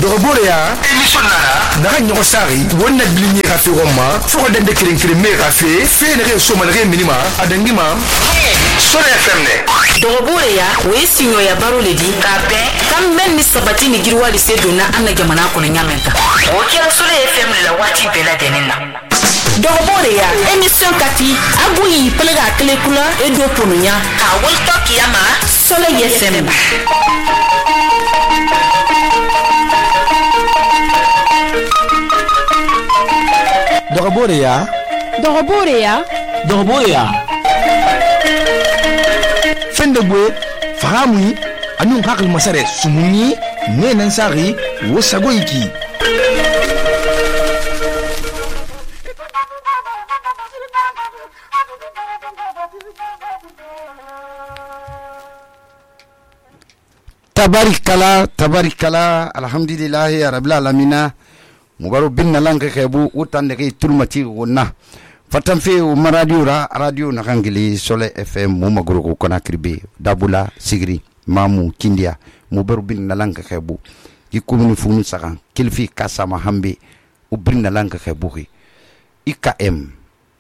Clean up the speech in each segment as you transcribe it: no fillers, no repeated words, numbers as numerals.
dogobore ya émission nana naga ɲɔgɔn sari wonna bilinye ka fe gomma fo ko dende keren me ka fe nege so malage minima adangima Sole FM ne dogobore ya o sinyo ya baro le di ka be kam men ni sabati ni girwa li se donna anna jamana ko nyamenta o kira Sole FM la wati bela denina dogobore ya émission kati aguyi pelega kele kula e do ponunya ka wolto kiyama Sole FM dogobore ya fende gwe fahamui anu hakil masare sumuni ne nan sari wo sagoyiki tabarikala alhamdulillah rabbil alamin mubaru binna lanka kebu utan de tulmati wonna fatan fe o radio na kangili Sole FM mu maguru ko kona kribe dabula sigri mamu kindia mubaru binna lanka kebu yikumuni funu sakan kilfi kasama hambe u binna lanka kebu IKM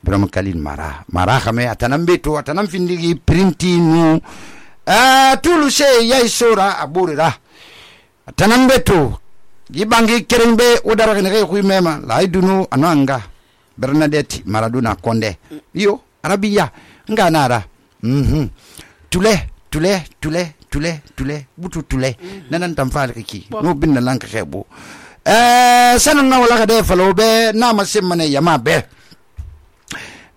Brahma Kalin mara khame atanam findigi printi nu tulu se yai sora aburira atanam beto gibangi kerengbe udara kene ko mema laidunu ananga Bernadette Maradona Konde yo arabiya nganara tule butu tule nanan tamfal kiki no binna lanka khebo sanan na wala de falobe na masimane yama be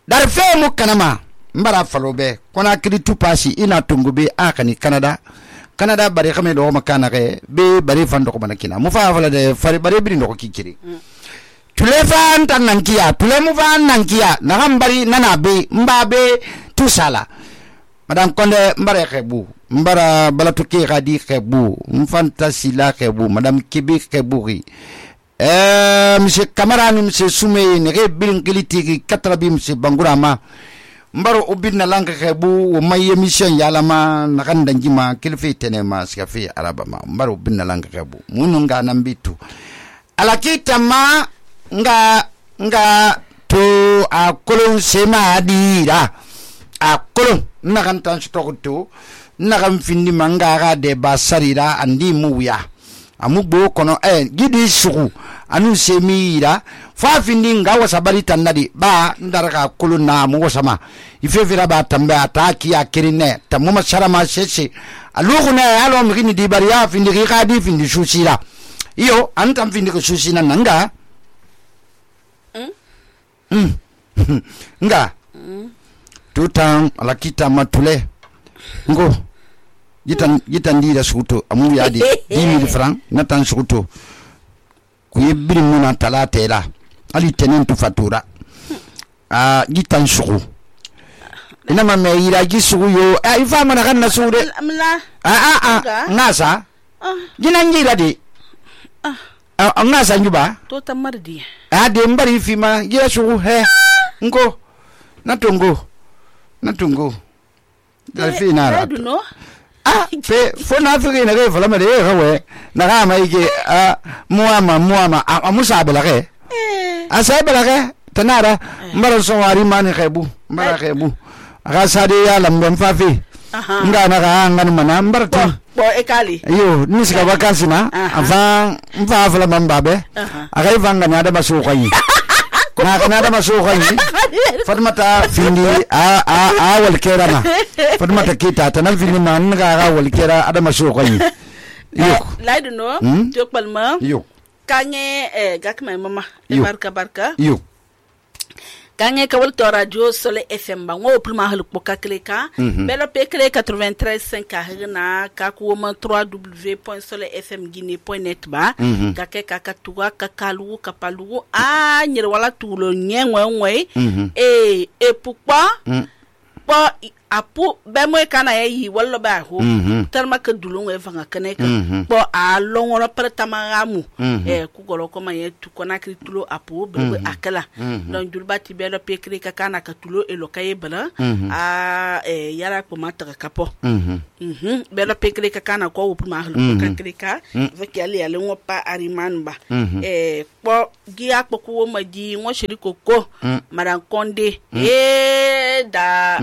dar fe mu kanama mbara falobe kona kidi tupasi ina tungube akani Canada bari xame do makana ke be bari fan do ko manakina mu fa fala de fari bari bi ndo ko kikiri tule fan tan nankiya tule mu fan nankiya na gambari nana be mbabe tusala madam Konde mbare xebu mbara balatu ki gadi xebu mfantasi la xebu madam Kibi xeburi monsieur Camara ni monsieur Soumé ne re bilin kiliti 4 bi monsieur Bangurama mbaro ubinna lanka xebu o may émission yalama nakanda njima kilfi tenema skafi arabama mbaro ubinna lanka xebu mununga nambitu alakitama nga to a kolon sema adira a kolon nakantan stokoto nakam findi manga ga de basarira andi muya amugbo kono gidi suku anu semira fa findi nga wasabari tanadi ba ndaraka kuluna mu wasama ifevira ba tambe ataki akirine tamuma sharama sese aluguna alo mgini di bariya findi khadi findi susira iyo antam findi ko susina nanga nga tutan alakita matule ngo gitan dira suto amu yadi 10000 francs natan suto kuyebiri muna talatela ali tenentu fatura gitan suku ina ma meira gisugu yo ifa mana kan nasude ngasa ginangira de ngasa njuba to tamardi de mbari fima gira sugu he ngo natungo dalfina fe fona fege na ge fala mare gawe na ga mai ge muama amusabela ge asabela ge tanara mbara so wari mani khebu mbara khebu aga sade ya lambe mfafi nga na ga ngan mana mbarta bo ekali yo nisika vakansi na afa mfa fala mambabe aga ivanga na da basu kwanyi na da basu kwanyi Fatmata findi wal kerana Fatmata kita tanam findi man ga wal kera ada masu kwanyi yok laidu no jok palma yok kanye gakma mama barka yok kanye ka wal to radio Sole FM ba ngo prima hal poka kleka belo pekle 93.5 ka hina ka ko ma www.solefmguinee.net ba ka ke ka tuwa ka kalu ka palu nyir wala tulo nyenwe e pourquoi pa apu be mo kana yi wallo ba ho tarma ka dulun e fanga kane ka bo a longoro per tamaramu ku golo ko ma ye tu kona kritulo apu be akala don julba ti be lo pekri ka kana ka tulo e lo kaye bala a yara ko mata ka kapo be lo pekri ka kana ko pu ma hlu ka krika veki ali ale ngopa ariman ba po giya ko ko ma di ngo shiri koko maran konde da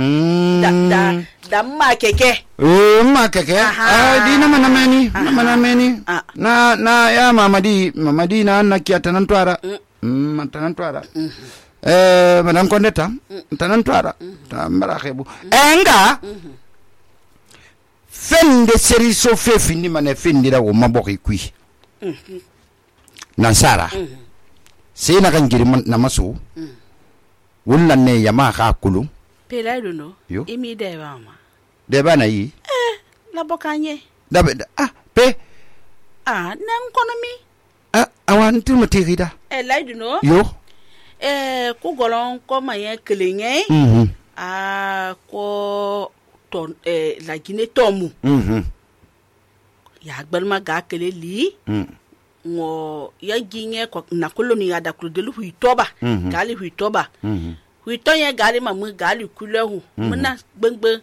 ma keke ma keke di na mana meni na ya mamadi na nakia tanan twara tanan twara madan konde tam tanan twara tambara xebu enga fende seri so fe findi mane findira wo maboki kui nansara sey na kan giri na maso wulla ne yama ka kulu pela no imi de mama de bana yi la bokanye da pe nan kono mi awan tu matirida laidu no yo ku golon ko maye kelenye ko ton la gine tomu ya gbalma ga kele li ngo ya ginye ko na koloni ya da kudelu huitoba gali huitoba huito ye gali mamu gali kulehu muna gbengbe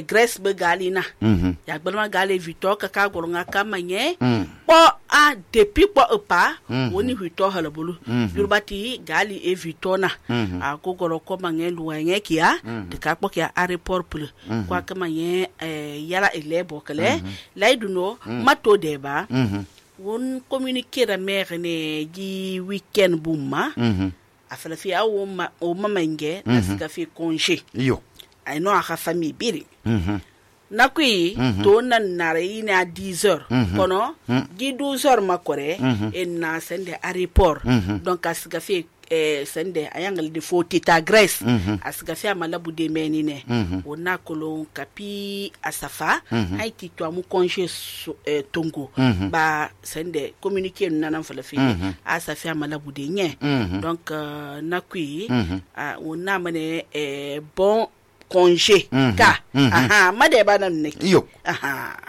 grace be gali na ya gbalma gali vito ka golonga kamanye po a depuis po pa woni huito halabulu yurbati gali e vito na a ko golo ko mange luwenye kia de ka po kia airport pul kwa kamanye yala elebo kale laiduno mato deba won communiquer la mère ne di weekend bumma afala fi awo mamenge asika fi congé yo ay no aka famille biri nakui to nan nare ina 10h kono di 12h makore en na sende aéroport donc asika fi sende ayangal de foti ta Grèce asika fi amalabu de menine wona kolon kapi asafa haiti to amu congé tongo ba sende communiquer nanan fala fi asafi amalabu de nye donc nakui wona mane bon congé ka made ba nan ne yo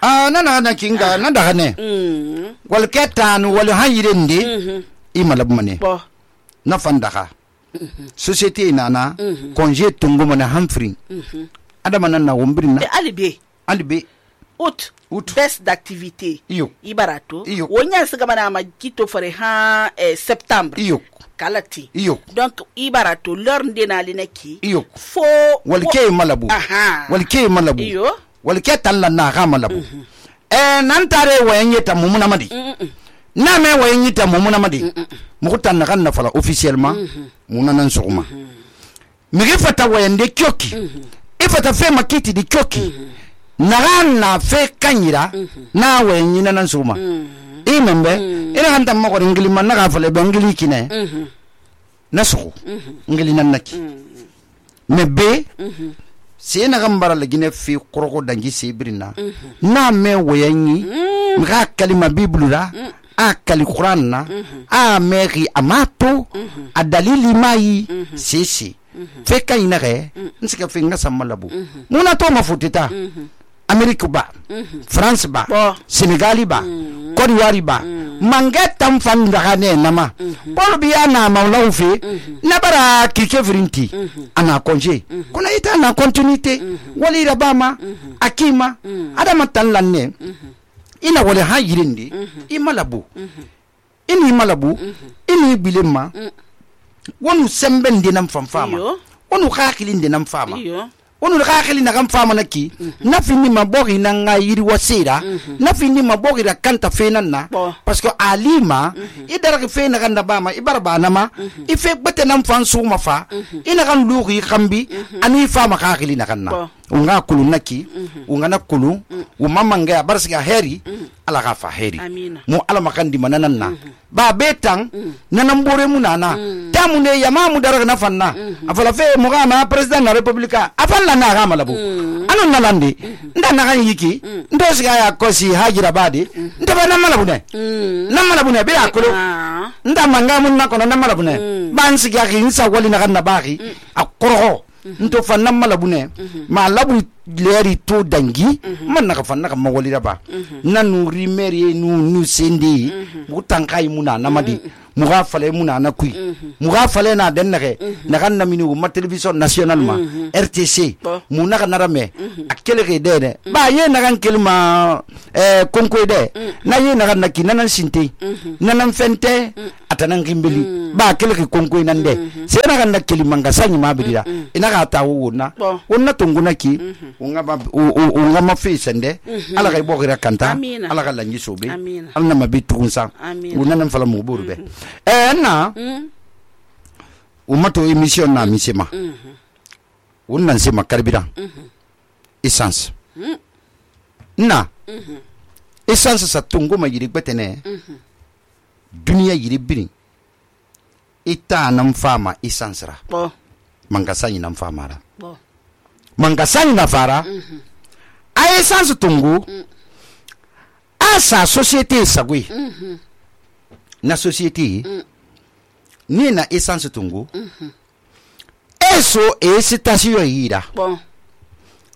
nana kinga na daga ne wal ketan wal hayirende imalabu mane na fandaka société nana congé tungo mona hamfring adama nan na wombrin na alibe out best d'activité ibarato wonya siga mana ma kito fare ha septembre kalati donc ibarato leur ndena lineki fo walke malabu walke talla na ga malabu nan tare wayenya mumuna madi na me wayenya mumuna madi mukutan na kan na fala officiellement muna nan suguma migi fata wayende kyoki ifata fe makiti di kyoki na fe kanyira na wayenya nan suguma imembe ina hanta mako ngili man na fala be ngili kine na sugu ngili nan naki mebe se na gambara la gine fi koroko dangi sebrina na me wayanyi mga kalima biblura a kali Quran na a meri amato a dalili mai sisi feka inare nsika finga samalabu muna to mafutita Amerika ba France ba Senegali ba Côte d'Ivoire ba mangetam fandagane nama pol biya na mawlaw fi nabara kike vrinti ana congé kuna ita na continuité wali rabama akima adama tanlanne ina wale ha yirindi imalabu ini bilema wonu sembende nam famfama wonu khakilinde nam fama wonu khakili na kam fama naki na fini mabori na ngayiri wasira na fini mabori ra kanta fenanna parce que alima idara ke fena kanda bama ibarba nama ife bete nam fansu mafa ina kan lughi khambi ani fama khakili na kanna unga kulu naki unga na kulu umamanga barsiga heri ala gafa heri mu ala makandi mananna ba betang nanambore munana tamune yamamu daraga na fanna afala fe mugama president na republika afalla na gama labu anon nalandi nda na kan yiki ndo siga ya kosi hajira badi ndaba na malabu ne be akulu nda manga mun na kono na malabu ne ban siga ki insa wali na kan na baki akoro nto fanna malabu ne ma labu leri to dangi man naka fan naka mawali raba nanu rimeri nu sendi mutankai muna namadi muga fale muna na kui muga fale na den nage naga namini ma television national ma RTC mu naka narame akele ke de ba ye naga kelma konko de na ye naga naki nanan sinte nanan fente atanan gimbeli ba kele ke konko nan de se naga nakeli manga sanyi ma bidira ina ga ta wona wonna tonguna ki unga ma fe sende ala ga bogira kanta ala ga lanyi sobe ala na mabitu kunsa unanan fala mu burbe na umato emission na misema unnan sema carburant essence na essence sa tungo ma yiri betene dunia yiri bini ita nam fama essence ra mangasani nam fama ra mangasani na fara a essence tungo asa société sagui na société ni na essence tungu eso station yira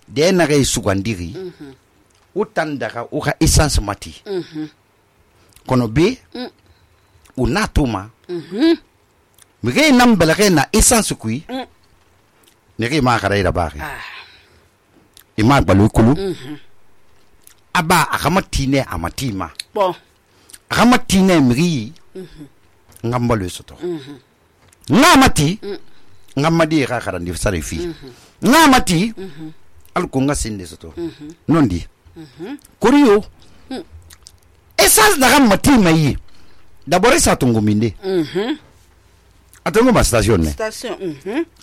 de na ga sugandiri utandaka uka essence mati kono be unatuma mige nambala na essence kui nege ma kharaira baaki ima balu kulu aba akamatine amatima akamatine migi ngambalo soto ngamati ngamadi ka karandi sarifi ngamati alko ngasinde soto nondi kuriyo essence na ngamati mai d'abord ça tungu minde atongo ma station ne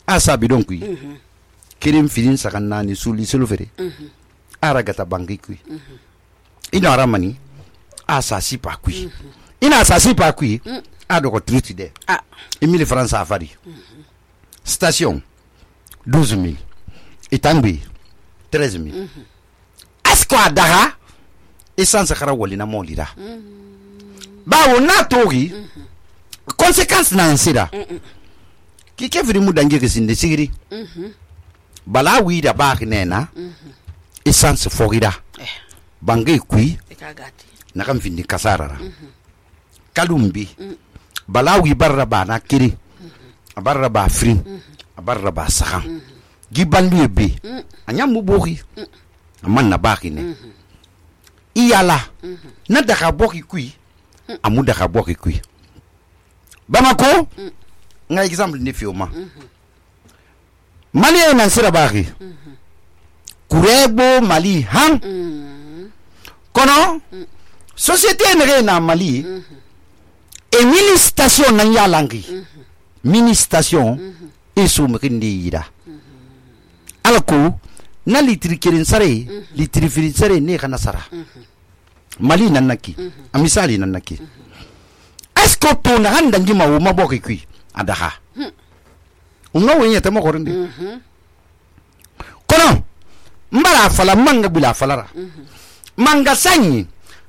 asa bidon kui kirim filin sakanna ni suli selufere aragata bangi kui ina ramani asa sipa kui ina sa sipa kui ado ko truti de 1000 francs afari station 12000 itangbi 13000 asko adaga essence khara wolina molira bawo na togi conséquence na nsira ki kefri mu dange kesinde sigiri bala wi da ba nena essence fogida bangai kui na kam findi kasarara kalumbi balawi barra ba na kiri barra ba frin barra ba sahan gibandu be anya muboki amman na baki ne iyala na daga boki kui amu daga boki kui bamako nga exemple ne fioma mali na sira baki kurebo mali han kono société ne na mali e mini station na yalangi mini station isu mkindi yida alako na litri kirin sare litri firin sare ne kana sara mali nanaki amisali nanaki esko to na handa ngima wo maboki kui adaha unga wenye tamo korinde kono mbara fala manga bila falara manga sanyi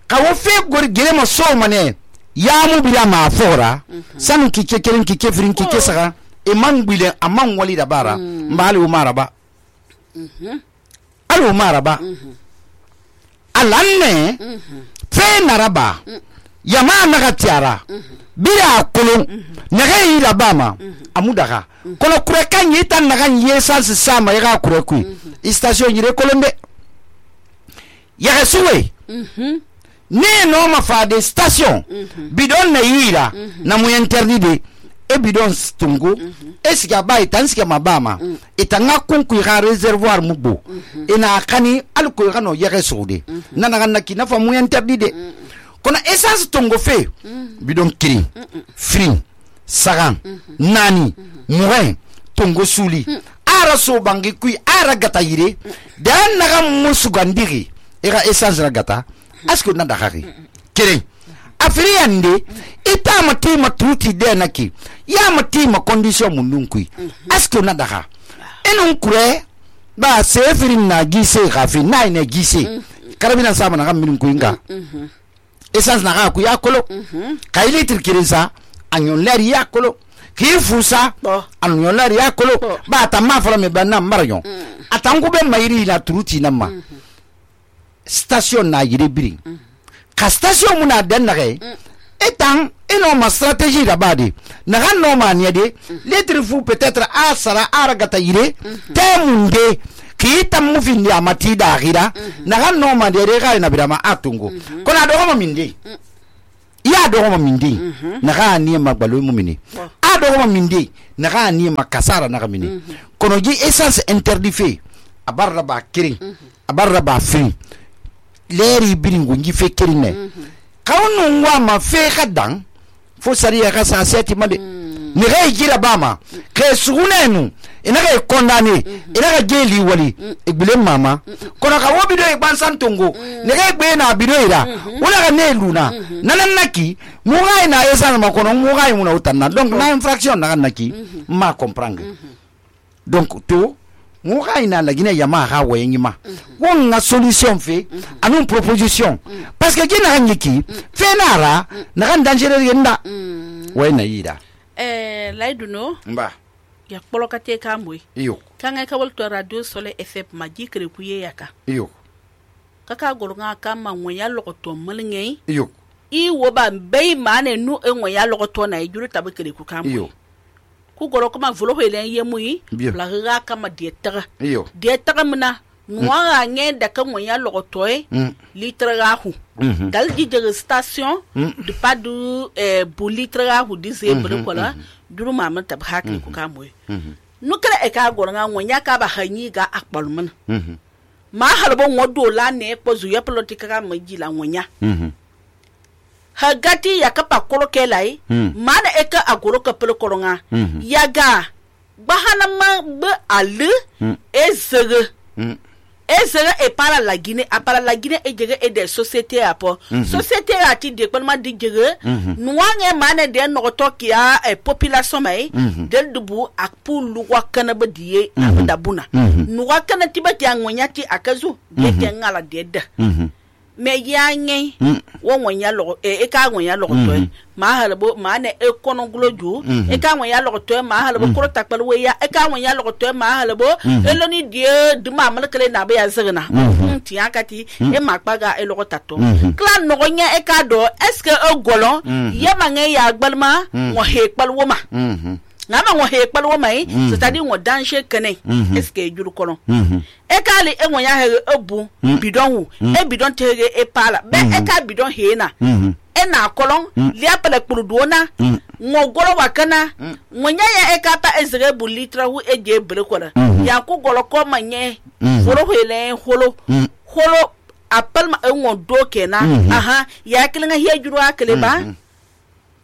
kawo fe gor gelema so mane ya mu bila ma fora sanu kike kerin kike firin kike saka e man bile amman wali da bara mbali umara ba alu umara ba alanne fe naraba yama naga tiara bila kulu naga ira bama amudaka kono kure kan yita naga yesans sama yaga kure ku station yire kolombe ya suwe ne no ma fa de station bidon na yira na mu interdit e bidon stungu esiga bai tansiga mabama itanga kunku ya reservoir mubo ina kani alko kano yare soude nana na kina fa mu interdit kono essence tongo fe bidon kiri free sagan nani muren tongo suli ara so bangi kui ara gata yire dan naga musugandiri era essence gata asko na dakari kiri afriande ita matima truti de naki ya matima condition mununkui asko na daka enun kure ba sefirin na gise khafi na ine gise karabina sama na kamin kuinga essence na ku ya kolo kaili tirkirinsa anyon leri ya kolo ki fusa anu yola ya kolo ba ta ma fala me banna marayon atangu be mayiri na turuti namma station na yire biri ka station muna den nage etan ino ma stratégie da bade na ganno ma ne de lettre fu peut-être a sara aragata yire temunde ki tam mu findi amati da gira na ganno ma de ga na bidama atungo kona do ma minde ya do ma minde na ga ni magbalo mu mini a do ma minde na ga ni makasara na ga mini kono ji essence interdit fait abarra ba kirin abarra ba fin leri biringu ngi fe kirin ne kawnu wa ma fe khadan fo sariya ka sa seti made ni ga jira bama ke sugunenu ina ga condamné ina ga jeli wali igbele mama kono ka wo bido e bansan tongo ni ga gbe na bido ira wala ga ne luna nanan naki mu ga ina esa ma kono mu ga mu na utanna donc na infraction na naki ma comprendre donc to mu ga ina la gine yama ha wayengi ma won na solution fe anu proposition parce que gina ngiki fe nara na kan danger yenda wayna yida laiduno mba ya polokate kamwe iyo kanga ka wolto radio sole fm majikre kuye yaka iyo kaka golunga kama ngoya lokoto mulnge iyo I wo ba mbei mane nu ngoya lokoto na ijuru tabekere ku kamwe iyo ku goro kama volo hele yemui la ga kama dietara iyo dietara muna nuwa nge da ka ngoya lokoto litre ga hu dal di de station de pas du bu litre ga hu dise bele kola duru mama tab hakri ku kamwe nu kala e ka goro nga ngonya ka ba hanyi ga akbalmun ma halbo ngodo la ne ko zuya politika ka majila ngonya hagati ya kapa kolo kelai mana eka agoro ka pele kolonga yaga bahana ma be ale ezege e para la Guinée e jege e de société apo société ati de palma di jege nuange mane de no tokia e population mai del dubu akpu luwa kana badie abdabuna nuwa kana tibati angonyati akazu de ngala de me yange wo wonya lo e ka wonya lo to ma halbo ma ne e kono gloju e ka wonya lo to ma halbo ko takpal we ya e ka wonya lo to ma halbo e lo ni die de ma mal kele na be ya zigna ti akati e ma kpaga e lo tato klan no nya e ka do est ce e golon ye ma nge ya gbalma wo he kpal wo ma ngama wo he kpal wo mai c'est-à-dire wo danger kene est ce que juru kolon e kali e wonya he ebu bidon hu e bidon tege e pala be e ka bidon he na e na kolon li apele kpurudona ngo golo wakana wonya ya e ka pa ezere bu litra hu e je bele kola ya ku golo ko manye foro hele holo apel ma e ngo do kena aha ya kilinga he juru akele ba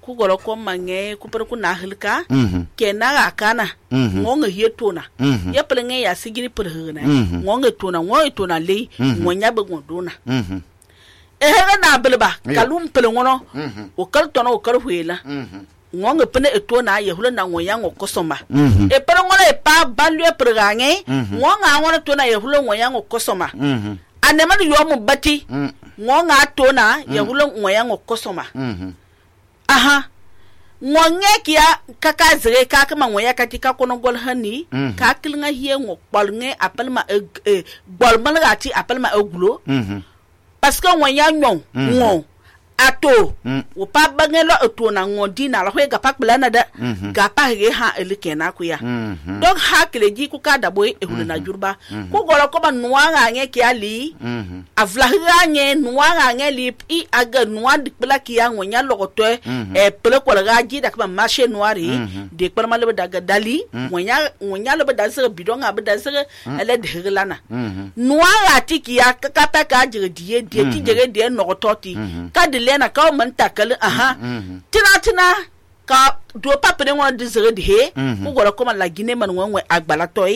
ku golo ko mange ku per ku na hilka kena akana ngonga hietona ya pelenge ya sigiri perhuna ngonga tona le ngonya be ngondona ehera na belba kalum pelengono o kaltono o karhuela ngonga pene etona ya hula na ngonya ngokosoma e pelengono e pa balue pergange ngonga ngona tona ya hula ngonya ngokosoma anema yo mu bati ngonga tona ya hula ngonya ngokosoma aha ngonge kia kaka zere kaka mangoya katika kono gol hani ka kilinga hiye ngo balnge apelma balmal gati apelma egulo parce que ngoya nyon ngo ato o pa bangelo ato na ngodi na la hwega pakbla da ga pa he ha elikena ku ya donc ha kile ji ku ka dabo e huluna jurba ku golo ko ba nuanga nge ki ali avla nge nuanga nge li I aga nuwa dikbla ki ya ngonya logoto e pele ko ga ji da ka marché noiri de ko ma le daga dali ngonya le da se bidon ga da se ele de hilana nuanga tiki ya ka pa ka jige die ti jige de no toti ka lena ka man takal aha tina ka do papere ngwa dizere de he ko gora ko man la Guinée man ngwe agbala toy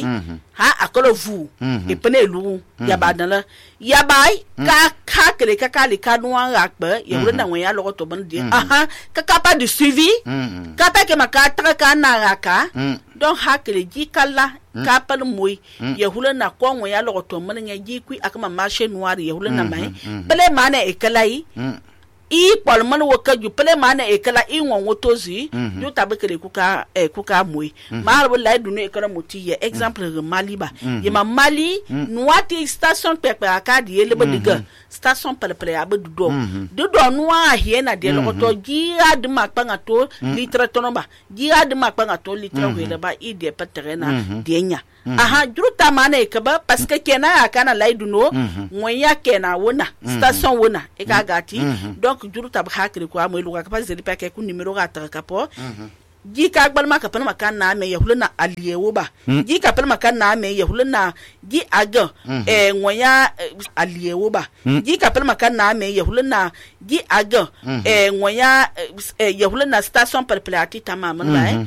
ha akolo vu e pene lu ya badala ya bai ka kele ka kali ka nuwa akba ya wura na ngwa lo to ban de aha ka pa de suivi ka pa ke maka tra ka na ka donc ha kele ji kala ka pal moy ya hula na ko ngwa lo to man nya ji ku akama marché noir ya hula na mai pele mane e kalai I palman wo ka ju pele mana e kala I won wotozi ju tabe kele kuka moy mar bo lay dunu e kala moti ye exemple Mali ba ye ma Mali nuati station pepe akadi ye lebe diga station pepe ya be do noa hiena de lo to gira de makpanga to litre tonoba gira de makpanga to litre wele ba I de peterena de nya aha juruta mana e kaba parce que kena akana lay duno ngoya kena wona station wona e ka gati donc juruta ba hakri ko amoy luga ka zeli pa ke ku numero ga ta ka po ji ka gbal maka pan maka na me yahuluna aliyewo ba ji ka pan maka na me yahuluna ji aga ngoya aliyewo ba ji ka pan maka na me yahuluna ji aga ngoya yahuluna station perplati tamaman ba